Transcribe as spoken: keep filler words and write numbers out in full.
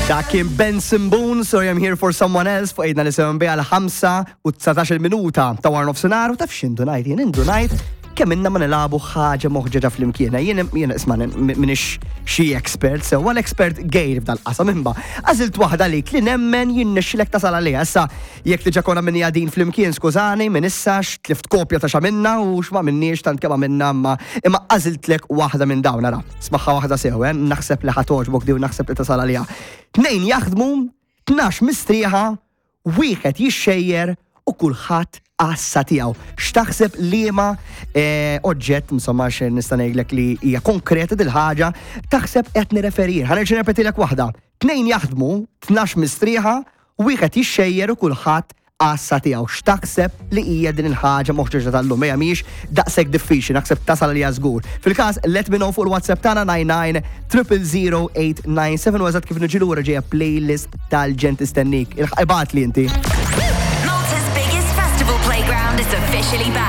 Dak kien Benson Boone, "Sorry I'm Here for Someone Else", fuq Għidna li sewwa għal ħamsa u dsatax-il minuta ta' wara nofsinhar. U taf x'indunajt jien? Indunajt kemm ilna ma nilagħbu ħaġa moħġeġa flimkien. Jien jien isma' m'iniex xi expert, sew l-expert gejr f'dal-qasam, imma għażilt waħda li li nemmen jirnexxilek tasal għaliha. Issa jekk diġà konna minni din flimkien, skużani, minn issa tlift kopja ta' x'għamilna u x'ma minniex, tant kemm għamilna, imma imma għażiltlek waħda minn dawn, ara. Smagħha waħda sew, eh? Naħseb li ħa togħġbok di u naħseb li tasal għaliha. Tnejn jaħdmu, tnax mistrieħa, wieħed jixxejjer u kulħadd għassa tiegħu. X'taħseb, liema eh, oġġett, insomma, x'nista' nista' ngħidlek li hija konkreta dil-ħaġa, taħseb qed nirreferir? Ħa nerġa' nirrepetilek waħda. Tnejn jaħdmu, tnax mistrieħa, wieħed jixxejjer u kulħadd għassa tiegħu. X'taħseb li hija din il-ħaġa moħġeġa tal-lum? Hija mhijiex daqshekk diffiċli, naħseb tasal li żgur. Fil-każ, let me know fuq il-WhatsApp tagħna disgħa disgħa triple zero tmien disa' seba' u eżatt kif niġi lura ġejja playlist tal-ġenn tistennik. Ibgħatli inti. Malta's biggest festival playground is officially back.